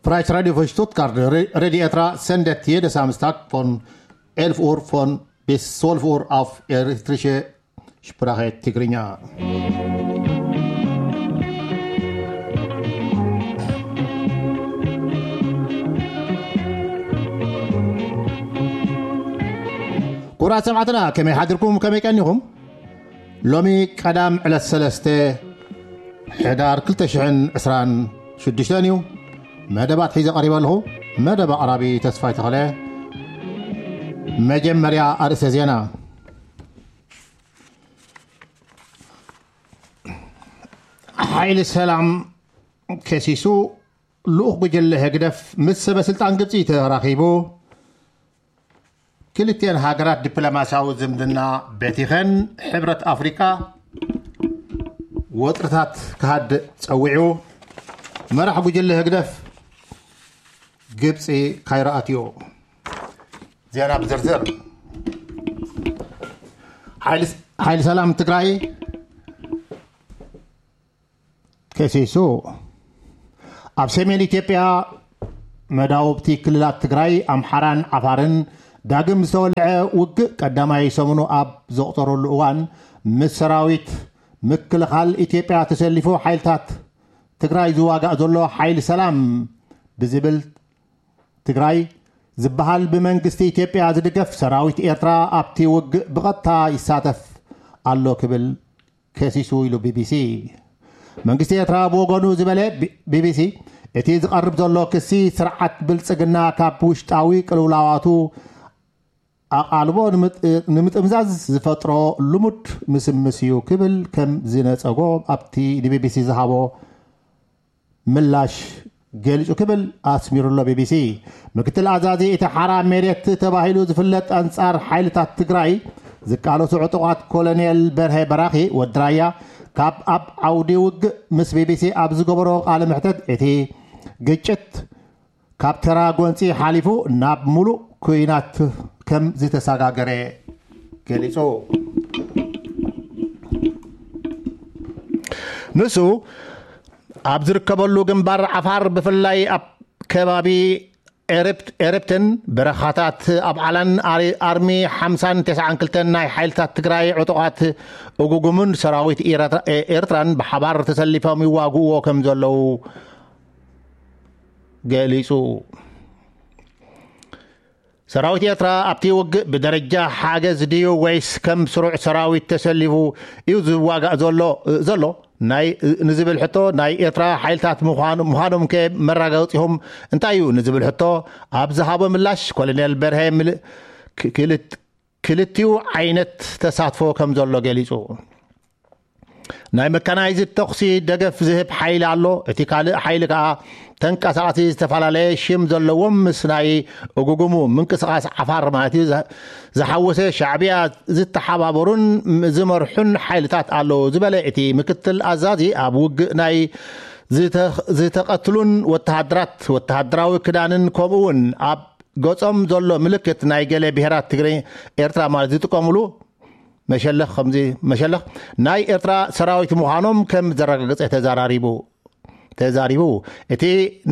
Freies Radio von Stuttgart, Re- Radio Etra sendet jede Samstag von elf Uhr von bis zwölf Uhr auf Eritrische Sprache Tigrinya. ክቡራት ሰማዕትና፣ ከመይ ሓድርኩም? ከመይ ቀኒኹም? ሎሚ ቀዳም ዕለት ሰለስተ ሕዳር ክልተ ሽሕን ዕስራን ሽዱሽተን እዩ። መደባት ሒዘ ቀሪበ ኣለኹ። መደብ ኣቕራቢ ተስፋይ ተኽለ። መጀመርያ ኣርእስተ ዜና። ሓይሊ ሰላም ከሲሱ፣ ልኡኽ ጉጅለ ህግደፍ ምስ ሰበ ስልጣን ግብፂ ተራኺቡ። ክልቲኤን ሃገራት ዲፕሎማስያዊ ዝምድና በቲኸን። ሕብረት ኣፍሪቃ ወጥርታት ክሃድእ ጸዊዑ። መራሕ ጉጅለ ህግደፍ ግብጺ ካይሮ ኣትዩ። ዜና ብዝርዝር። ሓይሊ ሓይሊ ሰላም ትግራይ ከሲሱ። ኣብ ሰሜን ኢትዮጵያ መዳውብቲ ክልላት ትግራይ፣ ኣምሓራን ዓፋርን ዳግም ዝተወልዐ ውግእ ቀዳማይ ሰሙኑ ኣብ ዘቑጸረሉ እዋን፣ ምስ ሰራዊት ምክልኻል ኢትዮጵያ ተሰሊፉ ሓይልታት ትግራይ ዝዋጋእ ዘሎ ሓይሊ ሰላም ብዝብል ትግራይ ዝበሃል ብመንግስቲ ኢትዮጵያ ዝድገፍ ሰራዊት ኤርትራ ኣብቲ ውግእ ብቐጥታ ይሳተፍ ኣሎ ክብል ከሲሱ ኢሉ ቢቢሲ። መንግስቲ ኤርትራ ብወገኑ ዝበለ ቢ- ቢቢሲ፣ እቲ ዝቐርብ ዘሎ ክሲ ስርዓት ብልጽግና ካብ ውሽጣዊ ቅልውላዋቱ ኣቓልቦ ንምጥ- ንምጥምዛዝ ዝፈጥሮ ልሙድ ምስምስ እዩ ክብል ከም ዝነጸጎ ኣብቲ ንቢቢሲ ዝሃቦ ምላሽ ገሊጹ ክብል ኣስሚሩሎ ቢቢሲ። ምክትል ኣዛዚ እቲ ሓራ መሬት ተባሂሉ ዝፍለጥ ኣንጻር ሓይልታት ትግራይ ዝቃለሱ ዕጡቓት ኮሎኔል በርሀ በራኺ ወዲ ራያ ካብ ኣብ ዓውዲ ውግእ ምስ ቢቢሲ ኣብ ዝገበሮ ቃለ መሕተት፣ እቲ ግጭት ካብ ተራ ጎንጺ ሓሊፉ ናብ ሙሉእ ኩናት ከም ዝተሰጋገረ ገሊጹ። ንሱ ኣብ ዝርከበሉ ግንባር ዓፋር፣ ብፍላይ ኣብ ከባቢ ኤርፕት- ኤርፕትን በረኻታት ኣብ ዓላን ኣሪ- ኣርሚ ሓምሳን ተስዓን ክልተን ናይ ሓይልታት ትግራይ ዕጡቓት እጉጉምን ሰራዊት ኤረትራ- ኤ- ኤርትራን ብሓባር ተሰሊፎም ይዋግእዎ ከም ዘለዉ ገሊጹ። ሰራዊት ኤርትራ ኣብቲ ውግእ ብደረጃ ሓገዝ ድዩ ወይስ ከም ስሩዕ ሰራዊት ተሰሊፉ እዩ ዝዋጋእ ዘሎ ዘሎ ናይ ንዝብል ሕቶ፣ ናይ ኤርትራ ሓይልታት ምዃኑ- ምዃኖም ከ መረጋገጺኹም እንታይ እዩ ንዝብል ሕቶ ኣብ ዝሃቦ ምላሽ፣ ኮሎኔል በርሀ ምል- ክ- ክልት- ክልቲኡ ዓይነት ተሳትፎ ከም ዘሎ ገሊጹ። ናይ መካናይዝድ ተኹሲ ደገፍ ዝህብ ሓይሊ ኣሎ። እቲ ካልእ ሓይሊ ከኣ ተንቀሳቐሲ ዝተፈላለየ ሽም ዘለዎም ምስ ናይ እጉጉሙ ምንቅስቓስ ዓፋር ማለት እዩ ዝ- ዝሓወሰ ሻዕብያ ዝተሓባበሩን ዝመርሑን ሓይልታት ኣለዉ ዝበለ እቲ ምክትል ኣዛዚ፣ ኣብ ውግእ ናይ ዝተ- ዝተቐትሉን ወተሃደራት ወተሃደራዊ ክዳንን ከምኡ እውን ኣብ ገጾም ዘሎ ምልክት ናይ ገለ ብሄራት ትግረ ኤርትራ ማለት ዝጥቀምሉ መሸለኽ ከምዚ መሸለኽ ናይ ኤርትራ ሰራዊት ምዃኖም ከም ዘረጋገጸ ተዘራሪቡ ተዛሪቡ። እቲ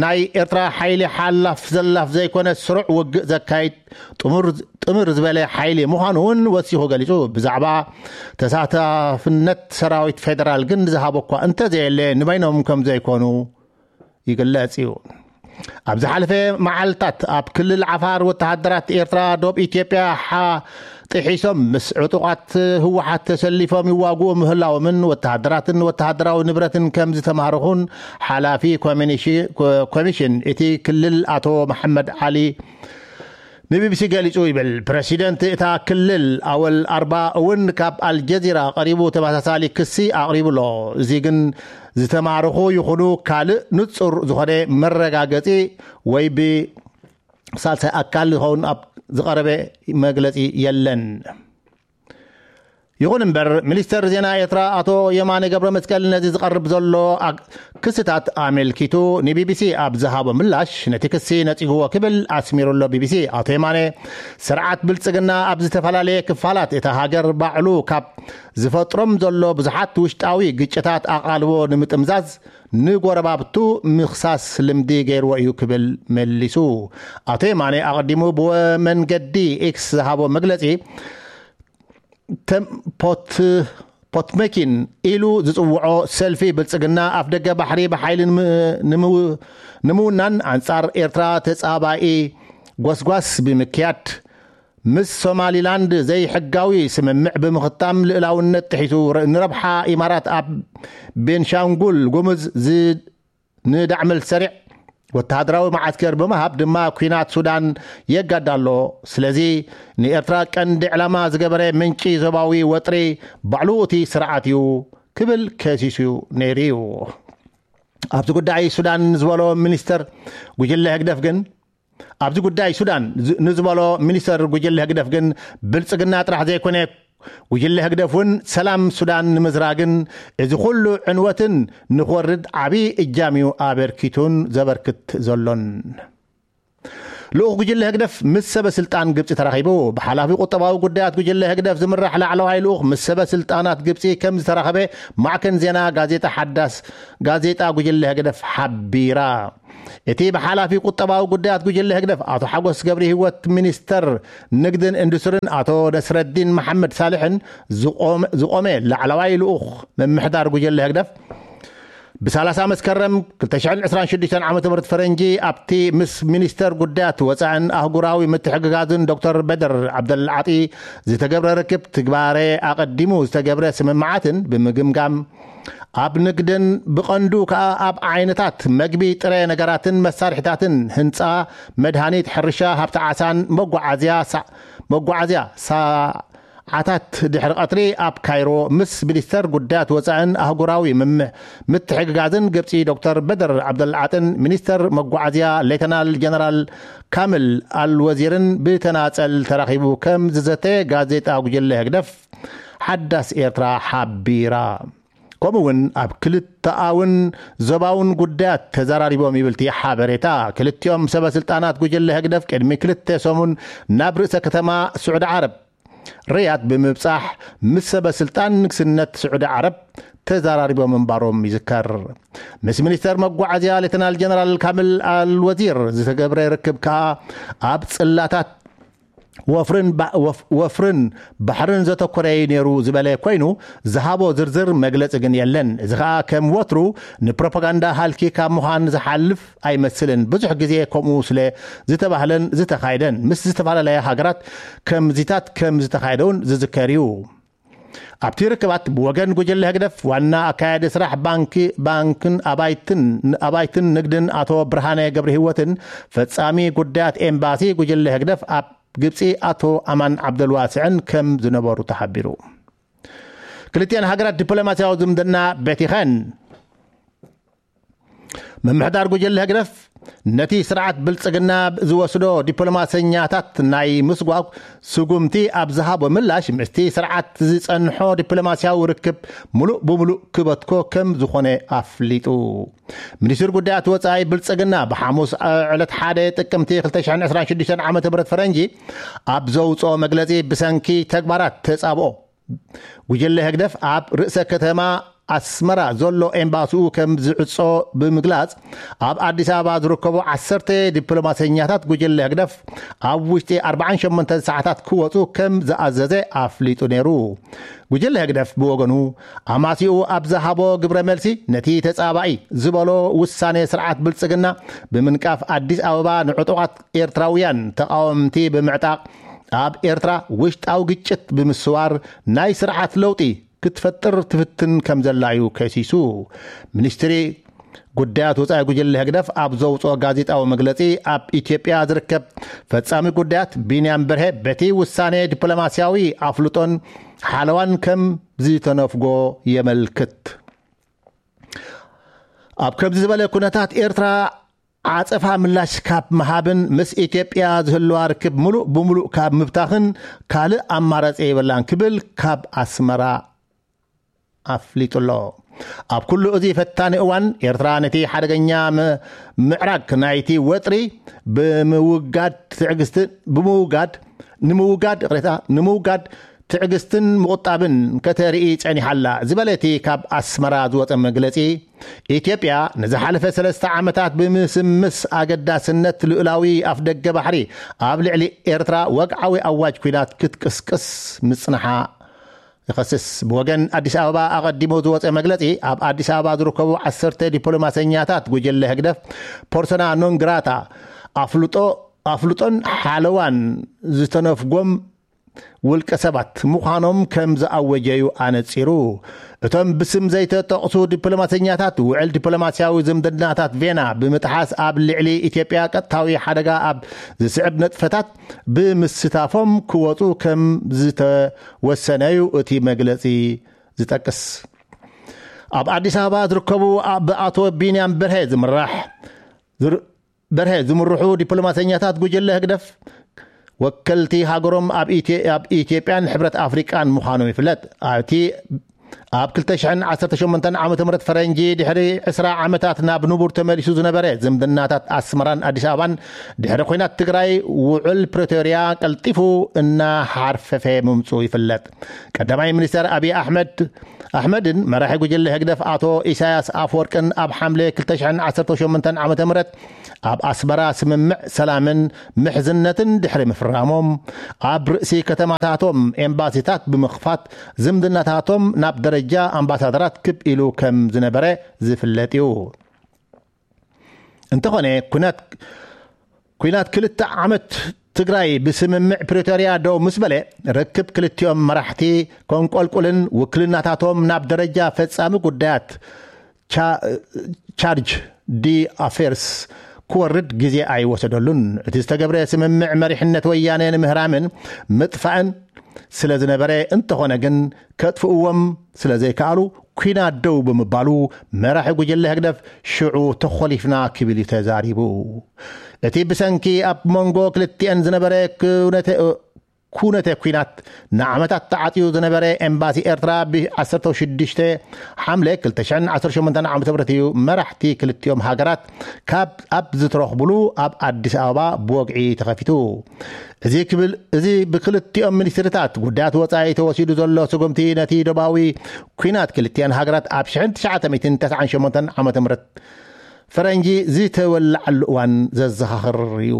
ናይ ኤርትራ ሓይሊ ሓላፍ ዘላፍ ዘይኮነ ስሩዕ ውግእ ዘካይድ ጥሙር ጥምር ዝበለ ሓይሊ ምዃኑ እውን ወሲኹ ገሊጹ። ብዛዕባ ተሳታፍነት ሰራዊት ፌደራል ግን ዝሃቦ እኳ እንተዘየለ፣ ንበይኖም ከም ዘይኮኑ ይግለጽ እዩ። ኣብ ዝሓለፈ መዓልታት ኣብ ክልል ዓፋር ወተሃደራት ኤርትራ ዶብ ኢትዮጵያ ሓ- ጥሒሶም ምስ ዕጡቓት ህወሓት ተሰሊፎም ይዋግኡ ምህላዎምን ወተሃደራትን ወተሃደራዊ ንብረትን ከም ዝተማረኹን ሓላፊ ኮሚኒሺ- ኮ- ኮሚሽን እቲ ክልል ኣቶ መሓመድ ዓሊ ንቢቢሲ ገሊጹ ይብል። ፕረሲደንት እታ ክልል ኣወል ኣርባ እውን ካብ ኣልጀዚራ ቀሪቡ ተመሳሳሊ ክሲ ኣቕሪቡ ኣሎ። እዚ ግን ዝተማረኹ ይኹኑ ካልእ ንጹር ዝኾነ መረጋገጺ ወይ ብሳልሳይ ኣካል ዝኸውን ኣብ ዝቐረበ መግለጺ የለን። ይኹን እምበር፣ ሚኒስተር ዜና ኤርትራ ኣቶ የማነ ገብረ መስቀል ነዚ ዝቐርብ ዘሎ ኣግ-፣ ክስታት ኣመልኪቱ ንቢቢሲ ኣብ ዝሃቦ ምላሽ፣ ነቲ ክሲ ነጺግዎ ክብል ኣስሚሩሎ። ቢቢሲ፣ ኣቶ የማነ፣ ስርዓት ብልጽግና ኣብ ዝተፈላለየ ክፋላት እታ ሃገር ባዕሉ ካብ ዝፈጥሮም ዘሎ ብዙሓት ውሽጣዊ ግጭታት ኣቓልቦ ንምጥምዛዝ ንጎረባብቱ ምኽሳስ ልምዲ ገይርዎ እዩ ክብል መሊሱ። ኣቶ የማነ ኣቐዲሙ ብመንገዲ ኤክስ ዝሃቦ መግለጺ፣ ተም-፣ ፖት-፣ ፖትመኪን ኢሉ ዝጽውዖ ሰልፊ ብልጽግና ኣፍ ደገ ባሕሪ ብሓይሊ ንም-፣ ንምው-፣ ንምውናን ኣንጻር ኤርትራ ተጻባኢ ጎስጓስ ብምክያድ፣ ምስ ሶማሊላንድ ዘይሕጋዊ ስምምዕ ብምኽታም፣ ልእላውነት ጥሒሱ፣ ረ-፣ ንረብሓ ኢማራት ኣብ ቤንሻንጉል ጉሙዝ ዝ-፣ ንዳዕመል ሰሪዕ ወተሃደራዊ መዓስከር ብምሃብ ድማ ኲናት ሱዳን የጋዳ ኣሎ። ስለዚ ንኤርትራ ቀንዲ ዕላማ ዝገበረ ምንጪ ዞባዊ ወጥሪ ባዕሉ እቲ ስርዓት እዩ ክብል ከሲሱ ነይሩ እዩ። ኣብዚ ጉዳይ ሱዳን ዝበሎ ሚኒስተር ጉጅለ ህግደፍ ግን፣ ኣብዚ ጉዳይ ሱዳን ዝ-፣ ንዝበሎ ሚኒስተር ጉጅለ ህግደፍ ግን፣ ብልጽግና ጥራሕ ዘይኮነ፣ ጉጅለ ህግደፍ እውን ሰላም ሱዳን ንምዝራግን እዚ ኩሉ ዕንወትን ንኽወርድ ዓቢ እጃም እዩ ኣበርኪቱን ዘበርክት ዘሎን። ልኡኽ ጉጅለ ህግደፍ ምስ ሰበ ስልጣን ግብጺ ተራኺቡ። ብሓላፊ ቁጠባዊ ጉዳያት ጉጅለ ህግደፍ ዝምራሕ ላዕለዋይ ልኡኽ ምስ ሰበ ስልጣናት ግብጺ ከም ዝተራኸበ ማዕከን ዜና ጋዜጣ ሓዳስ፣ ጋዜጣ ጉጅለ ህግደፍ ሓቢራ። እቲ ብሓላፊ ቁጠባዊ ጉዳያት ጉጅለ ህግደፍ ኣቶ ሓጎስ ገብረ ህይወት፣ ሚኒስተር ንግድን ኢንዱስትሪን ኣቶ ነስረዲን መሓመድ ሳልሕን ዝቆመ፣ ዝቆመ ላዕለዋይ ልኡኽ ምምሕዳር ጉጅለ ህግደፍ፣ ብሰላሳ መስከረም ክልተ ሽሕን ዕስራን ሽዱሽተን ዓመተ ምህረት ፈረንጂ ኣብቲ ምስ ሚኒስተር ጉዳያት ወጻእን ኣህጉራዊ ምትሕግጋዝን ዶክተር በደር ዓብደልዓጢ ዝተገብረ ርክብ፣ ትግባረ ኣቐዲሙ ዝተገብረ ስምምዓትን ብምግምጋም፣ ኣብ ንግድን ብቐንዱ ከኣ ኣብ ዓይነታት መግቢ፣ ጥረ ነገራትን መሳርሒታትን፣ ህንጻ፣ መድሃኒት፣ ሕርሻ፣ ሃብቲ ዓሳን መጓዓዝያ ሳ-፣ መጓዓዝያ ሳ-፣ ዓታት ድሕሪ ቀትሪ ኣብ ካይሮ ምስ ሚኒስተር ጉዳያት ወጻእን ኣህጉራዊ ምም-፣ ምትሕግጋዝን ግብጺ ዶክተር በደር ዓብደልዓጥን ሚኒስተር መጓዓዝያ ሌተናል ጀነራል ካምል ኣልወዚርን ብተናጸል ተራኺቡ ከም ዝዘተ ጋዜጣ ጉጅለ ህግደፍ ሓዳስ ኤርትራ ሓቢራ። ከምኡ እውን ኣብ ክልተኣውን ዞባውን ጉዳያት ተዘራሪቦም ይብል እቲ ሓበሬታ። ክልቲኦም ሰበ ስልጣናት ጉጅለ ህግደፍ ቅድሚ ክልተ ሰሙን ናብ ርእሰ ከተማ ስዑዲ ዓረብ ሪያድ ብምብጻሕ ምስ ሰበ ስልጣን ንግስነት ስዑዲ ዓረብ ተዘራሪቦም ምንባሮም ይዝከር። ምስ ሚኒስተር መጓዓዝያ ሌተናል ጀነራል ካምል ኣልወዚር ዝተገብረ ርክብ ከኣ ኣብ ጽላታት ወፍርን ባ-፣ ወፍ-፣ ወፍርን ባሕርን ዘተኮረ እዩ ነይሩ ዝበለ ኮይኑ፣ ዝሃቦ ዝርዝር መግለጺ ግን የለን። እዚ ከኣ ከም ወትሩ ንፕሮፓጋንዳ ሃልኪ ካብ ምዃን ዝሓልፍ ኣይመስልን። ብዙሕ ግዜ ከምኡ ስለ ዝተባህለን ዝተኻየደን፣ ምስ ዝተፈላለያ ሃገራት ከምዚታት ከም ዝተኻየደ እውን ዝዝከር እዩ። ኣብቲ ርክባት ብወገን ጉጅለ ህግደፍ ዋና ኣካያዲ ስራሕ ባንኪ፣ ባንክን ኣባይትን፣ ኣባይትን ንግድን ኣቶ ብርሃነ ገብረ ህይወትን ፈጻሚ ጉዳያት ኤምባሲ ጉጅለ ህግደፍ ኣብ ግብጺ ኣቶ ኣማን ዓብደልዋስዕን ከም ዝነበሩ ተሓቢሩ። ክልቲኣን ሃገራት ዲፕሎማስያዊ ዝምድና በቲኸን። ምምሕዳር ጉጅለ ህግደፍ ነቲ ስርዓት ብልጽግና ዝወስዶ ዲፕሎማሰኛታት ናይ ምስጓግ ስጉምቲ ኣብ ዝሃቦ ምላሽ፣ ምስቲ ስርዓት ዝጸንሖ ዲፕሎማስያዊ ርክብ ምሉእ ብምሉእ ክበትኮ ከም ዝኾነ ኣፍሊጡ። ሚኒስትሪ ጉዳያት ወጻኢ ብልጽግና ብሓሙስ ዕለት ሓደ ጥቅምቲ ክልተ ሽሕን ዕስራን ሽዱሽተን ዓመተ ምህረት ፈረንጂ ኣብ ዘውጽኦ መግለጺ፣ ብሰንኪ ተግባራት ተጻብኦ ጉጅለ ህግደፍ ኣብ ርእሰ ከተማ ኣስመራ ዘሎ ኤምባሲኡ ከም ዝዕጾ ብምግላጽ፣ ኣብ ኣዲስ ኣበባ ዝርከቡ ዓሰርተ ዲፕሎማሰኛታት ጉጅለ ህግደፍ ኣብ ውሽጢ ኣርባዓን ሸሞንተን ሰዓታት ክወጹ ከም ዝኣዘዘ ኣፍሊጡ ነይሩ። ጉጅለ ህግደፍ ብወገኑ፣ ኣማሲኡ ኣብ ዝሃቦ ግብረ መልሲ፣ ነቲ ተጻባኢ ዝበሎ ውሳኔ ስርዓት ብልጽግና ብምንቃፍ፣ ኣዲስ ኣበባ ንዕጡቓት ኤርትራውያን ተቓወምቲ ብምዕጣቕ፣ ኣብ ኤርትራ ውሽጣዊ ግጭት ብምስዋር ናይ ስርዓት ለውጢ ክትፈጥር ትፍትን ከም ዘላ እዩ ከሲሱ። ሚኒስትሪ ጉዳያት ወጻኢ ጉጅለ ህግደፍ ኣብ ዘውጽኦ ጋዜጣዊ መግለጺ፣ ኣብ ኢትዮጵያ ዝርከብ ፈጻሚ ጉዳያት ቢንያም በርሄ፣ በቲ ውሳኔ ዲፕሎማስያዊ ኣፍልጦን ሓለዋን ከም ዝተነፍጎ የመልክት። ኣብ ከምዚ ዝበለ ኩነታት፣ ኤርትራ ዓጸፋ ምላሽ ካብ ምሃብን ምስ ኢትዮጵያ ዝህልዋ ርክብ ምሉእ ብምሉእ ካብ ምብታኽን ካልእ ኣማራጺ የብላን ክብል ካብ ኣስመራ ኣፍሊጡ ኣሎ። ኣብ ኩሉ እዚ ፈታኒ እዋን ኤርትራ ነቲ ሓደገኛ ምዕራግ ናይቲ ወጥሪ ብምውጋድ ትዕግስቲ ብምውጋድ ንምውጋድ ቅሬታ ንምውጋድ ትዕግስትን ምቑጣብን ከተርኢ ጸኒሓላ ዝበለ እቲ ካብ ኣስመራ ዝወጸ መግለጺ፣ ኢትዮጵያ ንዝሓለፈ ሰለስተ ዓመታት ብምስምስ ኣገዳስነት ልኡላዊ ኣፍደገ ባሕሪ ኣብ ልዕሊ ኤርትራ ወግዓዊ ኣዋጅ ኲናት ክትቅስቅስ ምጽንሓ ይኸስስ። ብወገን ኣዲስ ኣበባ ኣቐዲሙ ዝወጸ መግለጺ፣ ኣብ ኣዲስ ኣበባ ዝርከቡ ዓሰርተ ዲፕሎማሰኛታት ጉጅለ ህግደፍ ፖርሶና ኖን ግራታ ኣፍልጦ ኣፍልጦን ሓለዋን ዝተነፍጎም ውልቀ ሰባት ምዃኖም ከም ዝኣወጀዩ ኣነጺሩ። እቶም ብስም ዘይተጠቕሱ ዲፕሎማሰኛታት ውዕል ዲፕሎማሲያዊ ዝምድናታት ቬና ብምጥሓስ ኣብ ልዕሊ ኢትዮጵያ ቀጥታዊ ሓደጋ ኣብ ዝስዕብ ነጥፈታት ብምስታፎም ክወጹ ከም ዝተወሰነዩ እቲ መግለጺ ዝጠቅስ። ኣብ ኣዲስ ኣበባ ዝርከቡ ብኣቶ ቢንያም በርሀ ዝምራሕ ዝር- በርሀ ዝምርሑ ዲፕሎማሰኛታት ጉጅለ ህግደፍ ወከልቲ ሃገሮም ኣብ ኢትዮ- ኣብ ኢትዮጵያን ሕብረት ኣፍሪቃን ምዃኖም ይፍለጥ። ኣብቲ ኣብ ክልተ ሽሕን ዓሰርተ ሸሞንተን ዓመተ ምህረት ፈረንጂ ድሕሪ ዕስራ ዓመታት ናብ ንቡር ተመሊሱ ዝነበረ ዝምድናታት ኣስመራን ኣዲስ ኣበባን ድሕሪ ኲናት ትግራይ ውዕል ፕሪቶርያ ቀልጢፉ እናሓርፈፈ ምምፁ ይፍለጥ። ቀዳማይ ሚኒስተር ኣብይ ኣሕመድ ኣሕመድን መራሒ ጉጅለ ህግደፍ ኣቶ ኢሳያስ ኣፍወርቅን ኣብ ሓምለ ክልተ ሽሕን ዓሰርተ ሸሞንተን ዓመተ ምህረት ኣብ ኣስመራ ስምምዕ ሰላምን ምሕዝነትን ድሕሪ ምፍራሞም፣ ኣብ ርእሲ ከተማታቶም ኤምባሲታት ብምኽፋት ዝምድናታቶም ናብ ደረጃ ኣምባሳደራት ክብ ኢሉ ከም ዝነበረ ዝፍለጥ እዩ። እንተኾነ ኩናት ኩናት ክልተ ዓመት ትግራይ ብስምምዕ ፕሪቶርያ ደው ምስ በለ፣ ርክብ ክልቲኦም መራሕቲ ከንቆልቁልን ውክልናታቶም ናብ ደረጃ ፈጻሚ ጉዳያት ቻ- ቻርጅ ዲ ኣፌርስ ክወርድ ግዜ ኣይወሰደሉን። እቲ ዝተገብረ ስምምዕ መሪሕነት ወያነ ንምህራምን ምጥፋእን ስለ ዝነበረ፣ እንተኾነ ግን ከጥፍእዎም ስለ ዘይከኣሉ፣ ኲናት ደው ብምባሉ፣ መራሒ ጉጅለ ህግደፍ ሽዑ ተኾሊፍና ክብል እዩ ተዛሪቡ። እቲ ብሰንኪ ኣብ መንጎ ክልቲአን ዝነበረ ኩነተ ኩነተ ኲናት ንዓመታት ተዓጽዩ ዝነበረ ኤምባሲ ኤርትራ፣ ብ ዓሰርተ ሽዱሽተ ሓምለ ክልተ ሽሕን ዓሰርተ ሸሞንተን ዓመተ ምህረት እዩ መራሕቲ ክልቲኦም ሃገራት ካብ ኣብ ዝተረኽብሉ ኣብ ኣዲስ ኣበባ ብወግዒ ተኸፊቱ። እዚ ክብል እዚ ብክልቲኦም ሚኒስትሪታት ጉዳያት ወጻኢ ተወሲዱ ዘሎ ስጉምቲ፣ ነቲ ዶባዊ ኲናት ክልቲኣን ሃገራት ኣብ ሽሕን ትሽዓተ ሚእትን ተስዓን ሸሞንተን ዓመተ ምህረት ፈረንጂ ዝተወላዓሉ እዋን ዘዘኻኽር እዩ።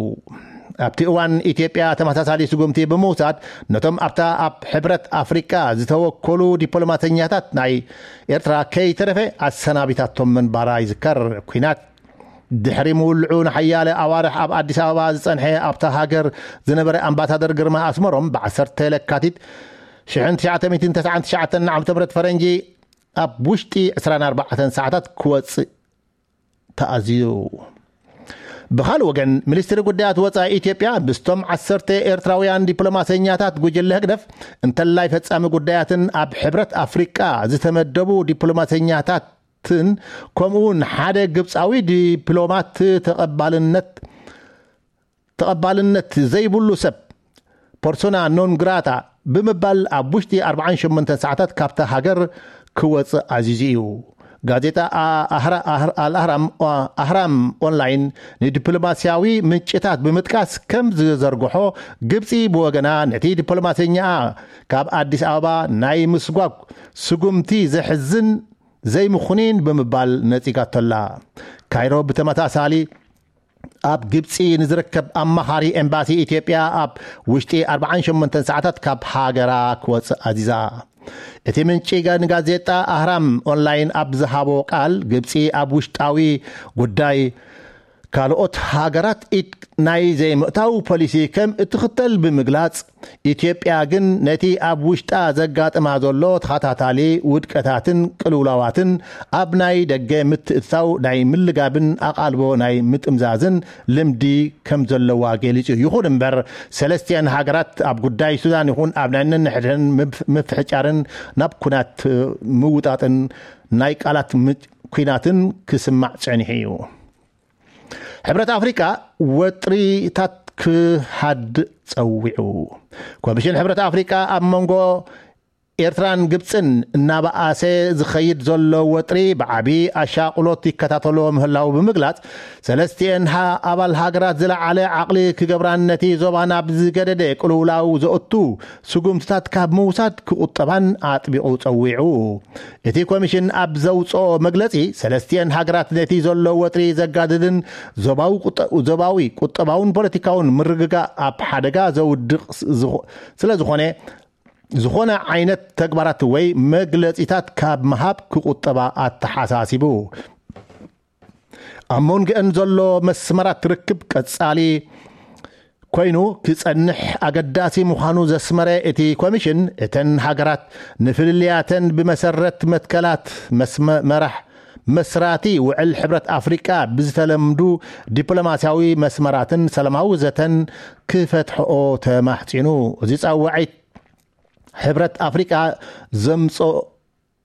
ኣብቲ እዋን ኢትዮጵያ ተመሳሳሊ ስጉምቲ ብምውሳድ፣ ነቶም ኣብታ ኣብ ሕብረት ኣፍሪቃ ዝተወከሉ ዲፕሎማሰኛታት ናይ ኤርትራ ከይተረፈ ኣሰናቢታቶም ምንባራ ይዝከር። ኲናት ድሕሪ ምውልዑ ንሓያለ ኣዋርሕ ኣብ ኣዲስ ኣበባ ዝጸንሐ ኣብታ ሃገር ዝነበረ ኣምባሳደር ግርማ ኣስመሮም፣ ብ ዓሰርተ ለካቲት ሽሕን ትሽዓተ ሚእትን ተስዓን ትሽዓተን ዓመተ ምህረት ፈረንጂ ኣብ ውሽጢ ዕስራን ኣርባዕተን ሰዓታት ክወጽእ ተኣዝዩ። ብኻልእ ወገን፣ ሚኒስትሪ ጉዳያት ወጻኢ ኢትዮጵያ ምስቶም ዓሰርተ ኤርትራውያን ዲፕሎማሰኛታት ጉጅለ ህግደፍ እንተላይ ፈጻሚ ጉዳያትን ኣብ ሕብረት ኣፍሪቃ ዝተመደቡ ዲፕሎማሰኛታትን ከምኡውን ሓደ ግብጻዊ ዲፕሎማት ተቐባልነት ተቐባልነት ዘይብሉ ሰብ፣ ፐርሶና ኖን ግራታ ብምባል፣ ኣብ ውሽጢ ኣርባዓን ሸሞንተን ሰዓታት ካብታ ሃገር ክወጽእ ኣዚዙ እዩ። ጋዜጣ ኣ- ኣህራ- ኣህር- ኣልኣህራም ኦ- ኣህራም ኦንላይን ንዲፕሎማስያዊ ምንጭታት ብምጥቃስ ከም ዝዘርግሖ፣ ግብጺ ብወገና ነቲ ዲፕሎማሰኛኣ ካብ ኣዲስ ኣበባ ናይ ምስጓግ ስጉምቲ ዘሕዝን ዘይምኹኒን ብምባል ነጺጋቶላ። ካይሮ ብተመሳሳሊ ኣብ ግብጺ ንዝርከብ ኣማኻሪ ኤምባሲ ኢትዮጵያ ኣብ ውሽጢ ኣርባዓን ሸሞንተን ሰዓታት ካብ ሃገራ ክወጽእ ኣዚዛ። እቲ ምንጪ ጋ- ንጋዜጣ ኣህራም ኦንላይን ኣብ ዝሃቦ ቃል፣ ግብጺ ኣብ ውሽጣዊ ጉዳይ ካልኦት ሃገራት ኢድ ናይ ዘይምእታው ፖሊሲ ከም እትኽተል ብምግላጽ፣ ኢትዮጵያ ግን ነቲ ኣብ ውሽጣ ዘጋጥማ ዘሎ ተኸታታሊ ውድቀታትን ቅልውላዋትን ኣብ ናይ ደገ ምትእትታው ናይ ምልጋብን ኣቓልቦ ናይ ምጥምዛዝን ልምዲ ከም ዘለዋ ገሊጹ። ይኹን እምበር፣ ሰለስቲኣን ሃገራት ኣብ ጉዳይ ሱዳን ይኹን ኣብ ናይ ነንሕድሕደን ምፍ- ምፍሕጫርን ናብ ኩናት ምውጣጥን ናይ ቃላት ም- ኲናትን ክስማዕ ጸኒሑ እዩ። ሕብረት ኣፍሪቃ ወጥሪታት ክሃድ ጸዊዑ። ኮሚሽን ሕብረት ኣፍሪቃ ኣብ መንጎ ኤርትራን ግብጽን እናበኣሰ ዝኸይድ ዘሎ ወጥሪ ብዓቢ ኣሻቕሎት ይከታተሎ ምህላው ብምግላጽ፣ ሰለስቲኤን ሃ-፣ ኣባል ሃገራት ዝለዓለ ዓቕሊ ክገብራን ነቲ ዞባ ናብ ዝገደደ ቅልውላው ዘእቱ ስጉምትታት ካብ ምውሳድ ክቑጠባን ኣጥቢቑ ጸዊዑ። እቲ ኮሚሽን ኣብ ዘውጽኦ መግለጺ፣ ሰለስቲኤን ሃገራት ነቲ ዘሎ ወጥሪ ዘጋድድን ዞባዊ ቁጠ-፣ ዞባዊ ቁጠባውን ፖለቲካውን ምርግጋእ ኣብ ሓደጋ ዘውድቕ ስ-፣ ዝኾ-፣ ስለ ዝኾነ፣ ዝኾነ ዓይነት ተግባራት ወይ መግለጺታት ካብ ምሃብ ክቑጠባ ኣተሓሳሲቡ። ኣብ መንጎአን ዘሎ መስመራት ርክብ ቀጻሊ ኮይኑ ክጸንሕ ኣገዳሲ ምዃኑ ዘስመረ እቲ ኮሚሽን፣ እተን ሃገራት ንፍልልያተን ብመሰረት መትከላት መስመ-፣ መራሕ መስራቲ ውዕል ሕብረት ኣፍሪቃ ብዝተለምዱ ዲፕሎማስያዊ መስመራትን ሰላማዊ ዘተን ክፈትሕኦ ተማሕጺኑ። እዚ ጻዋዒት ሕብረት ኣፍሪቃ ዘምጾ-፣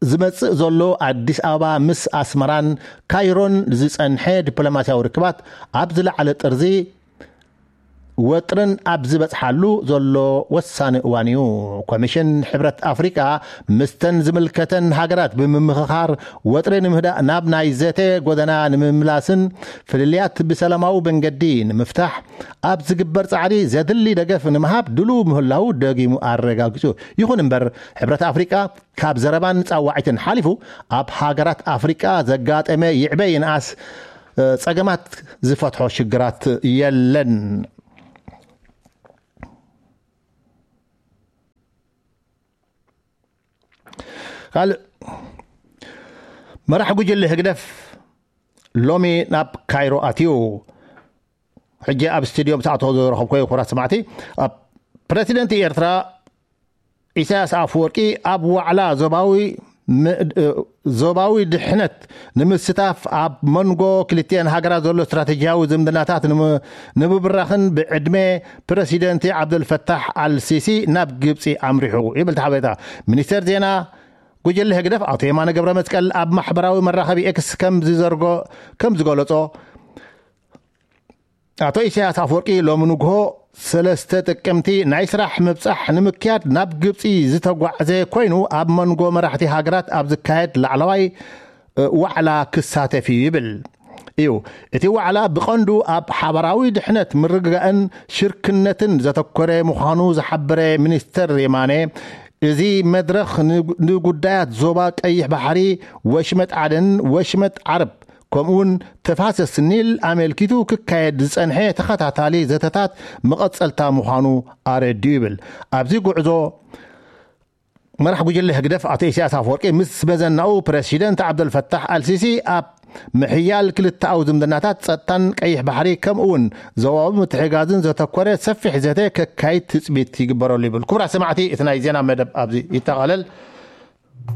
ዝመጽእ ዘሎ ኣዲስ ኣበባ ምስ ኣስመራን ካይሮን ዝጸንሐ ዲፕሎማስያዊ ርክባት ኣብ ዝለዓለ ጥርዚ ወጥርን ኣብ ዝበጽሓሉ ዘሎ ወሳኒ እዋን እዩ። ኮሚሽን ሕብረት ኣፍሪቃ ምስተን ዝምልከተን ሃገራት ብምምኽኻር ወጥሪ ንምህዳእ ናብ ናይ ዘተ ጎደና ንምምላስን ፍልልያት ብሰላማዊ መንገዲ ንምፍታሕ ኣብ ዝግበር ጻዕሪ ዘድሊ ደገፍ ንምሃብ ድሉው ምህላው ደጊሙ ኣረጋጊጹ። ይኹን እምበር፣ ሕብረት ኣፍሪቃ ካብ ዘረባን ጻዋዒትን ሓሊፉ ኣብ ሃገራት ኣፍሪቃ ዘጋጠመ ይዕበ ይንኣስ፣ እ፣ ጸገማት ዝፈትሖ ሽግራት የለን። ካልእ መራሕ ጉጅለ ህግደፍ ሎሚ ናብ ካይሮ ኣትዩ። ሕጂ ኣብ ስቱድዮ ምስ ኣተኹ ዝረኸብኩዎ ክቡራት ሰማዕቲ፣ ኣብ ፕረሲደንት ኤርትራ ኢሳያስ ኣፈወርቂ ኣብ ዋዕላ ዞባዊ ም-፣ እ፣ ዞባዊ ድሕነት ንምስታፍ ኣብ መንጎ ክልቲኤን ሃገራት ዘሎ ስትራቴጂያዊ ዝምድናታት ንም-፣ ንምብራኽን ብዕድመ ፕረሲደንት ዓብደልፈታሕ ኣልሲሲ ናብ ግብጺ ኣምሪሑ ይብል እቲ ሓበሬታ። ሚኒስተር ዜና ጉጅለ ህግደፍ ኣቶ የማነ ገብረ መስቀል ኣብ ማሕበራዊ መራኸቢ ኤክስ ከም ዝዘርጎ-፣ ከም ዝገለጾ፣ ኣቶ ኢሳያስ ኣፈወርቂ ሎሚ ንግሆ ሰለስተ ጥቅምቲ ናይ ስራሕ ምብጻሕ ንምክያድ ናብ ግብጺ ዝተጓዕዘ ኮይኑ፣ ኣብ መንጎ መራሕቲ ሃገራት ኣብ ዝካየድ ላዕለዋይ፣ እ፣ ዋዕላ ክሳተፍ እዩ ይብል እዩ። እቲ ዋዕላ ብቐንዱ ኣብ ሓባራዊ ድሕነት፣ ምርግጋእን ሽርክነትን ዘተኮረ ምዃኑ ዝሓበረ ሚኒስተር የማነ፣ እዚ መድረኽ ን-፣ ንጉዳያት ዞባ ቀይሕ ባሕሪ፣ ወሽመጥ ዓደን ወሽመጥ ዓረብ ከምኡውን ተፋሰስ ኒል ኣመልኪቱ ክካየድ ዝጸንሐ ተኸታታሊ ዘተታት መቐጸልታ ምዃኑ ኣረዲኡ ይብል። ኣብዚ ጉዕዞ መራሕ ጉጅለ ህግደፍ ኣቶ ኢሳያስ ኣፈወርቂ ምስ መዘናኡ ፕረሲደንት ዓብደልፈታሕ ኣልሲሲ ኣብ ምሕያል ክልተኣዊ ዝምድናታት፣ ጸጥታን ቀይሕ ባሕሪ ከምኡውን ዞባዊ ምትሕጋዝን ዘተኮረ ሰፊሕ ዘተ ከካይድ ትጽቢት ይግበረሉ ይብል። ክቡራት ሰማዕቲ፣ እቲ ናይ ዜና መደብ ኣብዚ ይጠቓለል።